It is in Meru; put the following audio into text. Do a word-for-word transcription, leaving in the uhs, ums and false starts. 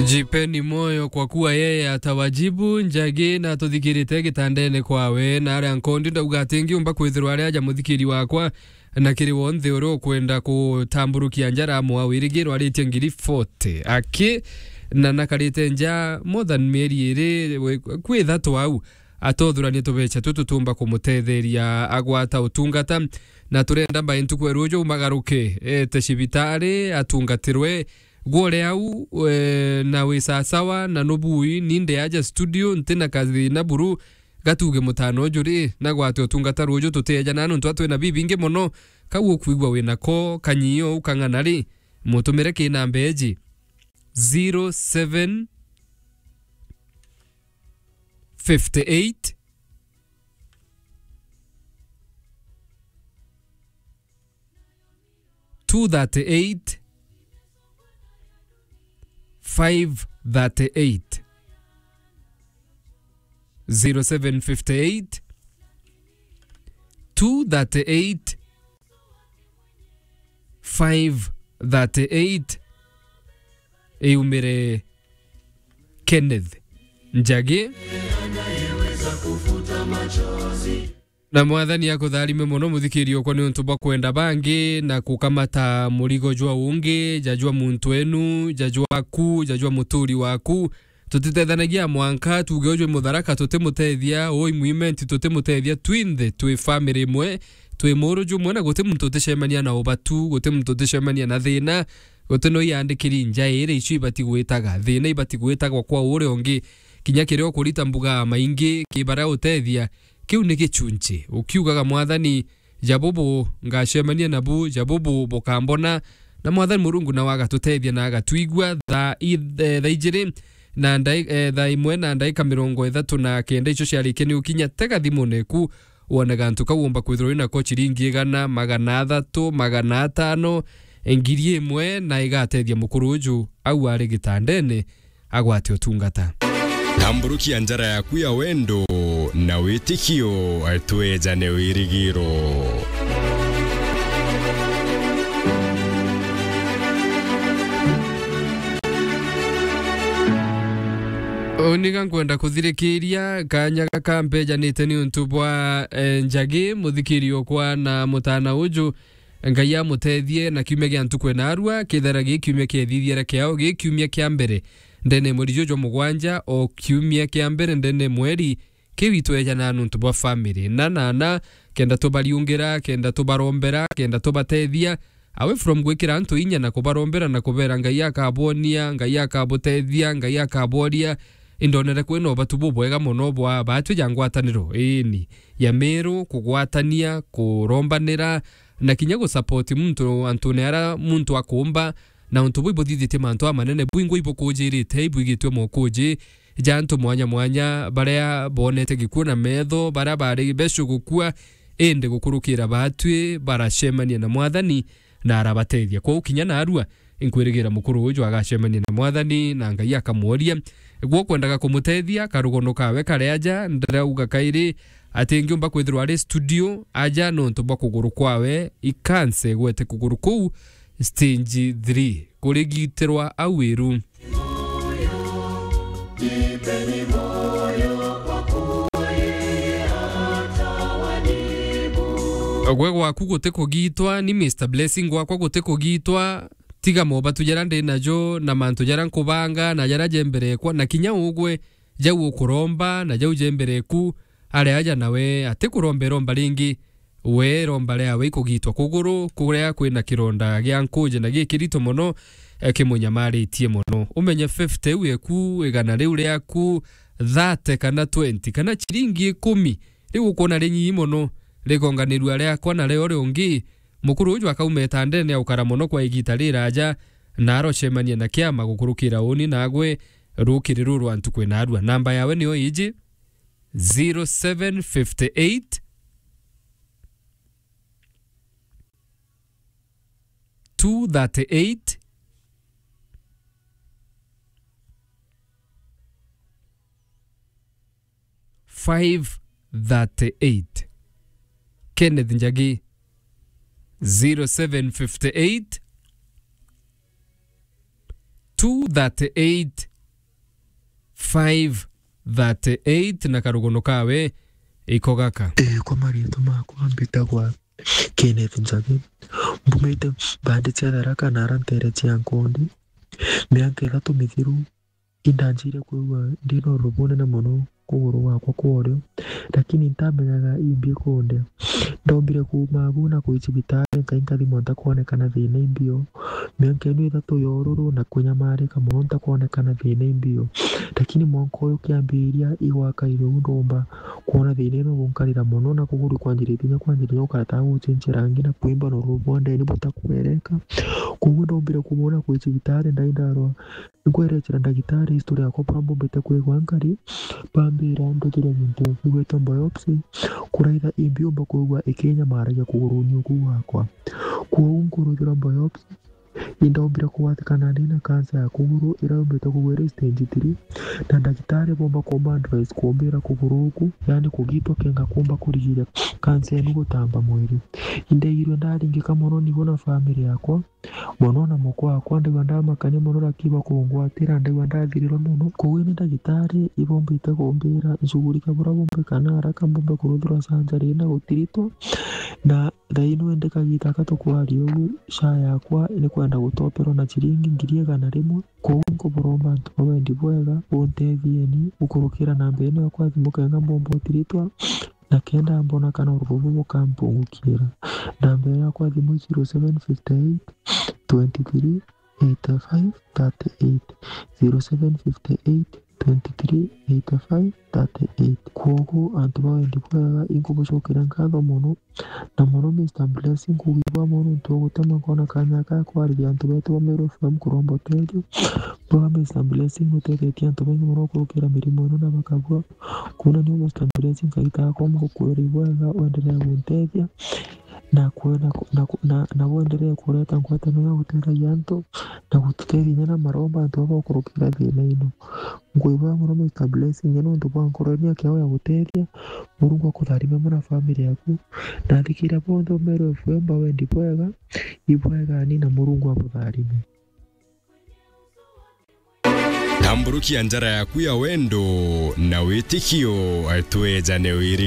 Jipeni moyo kwa kuwa yeye atawajibu. Njagi na tuthikirite gitandene kwawe, na aria nkondi ndauga ati ngiumba kwithirwa ari aja muthikiri wakwa, na kiri wonthe uria ukwenda kutamburukia njara mwa wirigiro aritie ngiri forty. Aki na nakarite nja more than mieri iri, we-, kwi ithatu au, atothuranie tubecha tutu tumba kumutetheria agwata utungata, na turenda mbai ntuku ya ruju umagaruke, ete cibitari atungatirwe, gwore au, eh, na wi sasawa na nubui, ni nde aja studio, nti na kathina buru, gatuge mutano uju ri, na gwate utungata ruju tuteja na nontu atwina bibingi mono, kau ukwigua wi nako, kanyio ukang'ana ri, mutumire ki namba iji, zero seven fifty eight, two thirty eight, five thirty eight. Zero seven fifty eight, two thirty eight, five thirty eight. Iumire Kenneth Njagi. Na Mwathani akutharime mono, muthikiri okwa, ni untu bwa kwenda bangi na kukamata murigo jwa ungi, ja jwa muntu enu, ja jwaku, ja jwa muturi waku. Tutitethanagia mwanka tuge uju i Mutharaka tutimutethia, uu i Mwimenti tutimutethia, twinthe twi family imwe, twi muru jumwe, na guti muntu uticemania na ubatu, guti muntu uticemania na thina, guti no iandikiri nja iri icio ibati gwitaga, thina ibati gwitagwa kwa uria ungi. Kinya kiria ukurita mbuga maingi ki baria utethia, kiu ni gichunchi. Ukiugaga, Mwathani, ja bubu ngacemania nabu, ja bubu bukambona. Na Mwathani Murungu nawe agatutethia na agatwigua. Thaa i-, eh, thaa ijiri na ndai-, eh, thaa imwe na ndaika mirongo ithatu na kenda icio ciarikia ni ukinya, tega thimune ku wone gantu kau umba kwithirwa wina ko ciringi igana, magana athatu, magana atano, ngiri imwe, na igatethia mukuru uju au ari gitandene agwate utungata. Tamburukia njara yaku ya wendo na witikio, twejane wirigiro. Uni ga nkwenda kuthirikiria kanya gaka mbejanite ni untu bwa, eh, Njagi, muthikiri okwa na mutana uju. Ngai amutethie na kiumia gia ntuku ena arua, kethira gi kiumia kiethithiere kiao, gi kiumia kia mbere ndene mweri juju jwa mugwanja, o kiumia kia mbere ndene mweri, kiu itwejana nuntu bwa family. Na, na, na, kenda tubariungira, kenda tubarombera, kenda tubatethia, away from gwikira antu inya na kubarombera na kubera Ngai akabwonia, Ngai akabutethia, Ngai akabworia, indonere kwina ubatu bubwega mono bwa batwi ja ngwataniro, iini, ya Meru, kugwatania, kurombanira, na kinya gusupport muntu antune ara muntu akumba, na untu buu ibuthithitie mantu amanene, bwingwa ibukujirite, ibwigitwe mokuji ja antu mwanya mwanya, baria bonete gikuu na metho, baria bari becu gukua, indi gukurukira batwi baracemania na Mwathani na arabatethia. Kwou kinya narua, inkwirigira mukuru uju agacemania na Mwathani na Ngai akamworia. Gwo kwendaga kumutethia, karugono kawe kari aja, ndirauga kairi ati ngiumba kwithirwa ari studio, aja nontu bwa kuguru kwawe, ikanse gwete kuguru kuu stage three, kurigitirwa au iru. Gwe gwaku guti kugitwa, ni Mister Blessing gwakwa guti kugitwa, tiga mobatu jaria ndi najo, na mantu jaria nkubanga, na jaria jemberekwa, na kinya ugwe, jau ukuromba, na jau jembereku, ari aja nawe ati kuromba iromba ringi, we iromba riawe ikugitwa kuguru, kuria kwina kironda gia nkuji na gikirito mono, eh, kimunyamaritie mono. Umenye fifty iu eku, igana riu riaku, thirty kana twenty, kana chiringi ikumi, riu ukwona rinyinyi mono, rigonganirua riakwa na rio ri ungi. Mukuru uju akauma itandene aukara mono kwa igita riraja, na arocemania na kiama gukurukira uni nagwe rukiri ruru antu kwina arua. Namba yawe niyo iji, zero seven fifty eight, two thirty eight, five thirty eight. Kenneth Njagi, zero seven fifty eight, two thirty-eight five thirty-eight, na karugono kawe iko gaka. Ee, kwa mariitwa makwa mbitagwa Kenneth Njagi. Mbumite mbandi cia Tharaka na ara nteere cia Nkondi. Miaka ithatu mithiru, indanjire kwigua ndi na urubu bunene mono kuguru gwakwa kwa urio, lakini ntamenyaga imbi kundia. Ndombire kuuma agu na kwi cibitari, nkai nkathimwa ntakwonekana thiina imbi o. Miaka ino ithatu ya ururu na kunyamarika mono ntakwonekana thiina imbi o. Lakini mwanka uyu kiambiria igwaka irio u ndomba kwona thiina ino gunkarira mono na kuguru kwanjiritie kinya kwanjiritie gukara ta gucenjia rangi na kwimba na urubu bwa ndeni butakwereka. Koguo ndombire kumwona kwi cibitari ndai ndarwa. Nkwerecera ndagitari history yakwa bura mbumbite kwigua nkari, bambira nduthirwe gintu gigwitwa biopsy, kuraitha imbi umba kwigua ikinyamaragia kuguruni uku gwakwa. Kwou nkuruthirwa biopsy, indombire kugwatikana ndi na cancer ya kuguru iria yumbite kugwira stage three, na ndagitari bomba kumba advice kumbira kuguru uku, yani kugitwa kenga kumba kurigiria cancer inu gutamba mwiri. Indaigirwe ndaringika mono nigo na family yakwa, mono na mukwa wakwa, ndaigua ndamakania mono, lakini bakungwatira, ndaigua ndathirirwa mono. Koguo ni ndagitari ibombite kumbira nshughulike bura bumbi kana haraka mbumbe kuruthirwa surgery na gutiritwa. Na thaino indi kagita aka tukwaria uu, SHA yakwa ni kwenda gutoperwa na ciringi ngiri igana rimwe. Koguo nkuburomba antu ba wendi bwega, buntethieni gukurukira namba ino yakwa ya thimu kenga mbomba utiritwa, na kenda mbona kana urubu bukampungukira. Namba yakwa ya thimu zero seven fifty eight twenty three eighty five thirty eight, zero seven fifty eight twenty three eighty five thirty-eight. Kwoguo, antu ba wendi bwega, inkubucokera nkatho mono, na mono Mister Blessing, nkugwibwa mono nontu bwa gutema nkona kanya aka ga kwariria antu betu ba Meru F M kuromba utethio. Bwa Mister Blessing nutethetie antu baingi mono gukurukira mirimo ino na bakabua. Kwona niu Mister Blessing, Ngai takwa mukukwira ibwega, wendelee guntethia. Na kwe-, na ku-, na ku-, na, na bwenderee kureta ngwataniro ya guteethagia antu, na gututethia inya na maromba antu baba bakurukira thiina ino. Nkwibwaa mono Mister Blessing, inya nontu bwa nkoro ino ya kiao ya gutethia. Murungu akutharime mono na family yaku. Na athikiria bonthe ba Meru F M ba wendi bwega, ibwegani na Murungu abutharime. Tamburukia njara yaku ya wendo na witikio, twejane wirigi.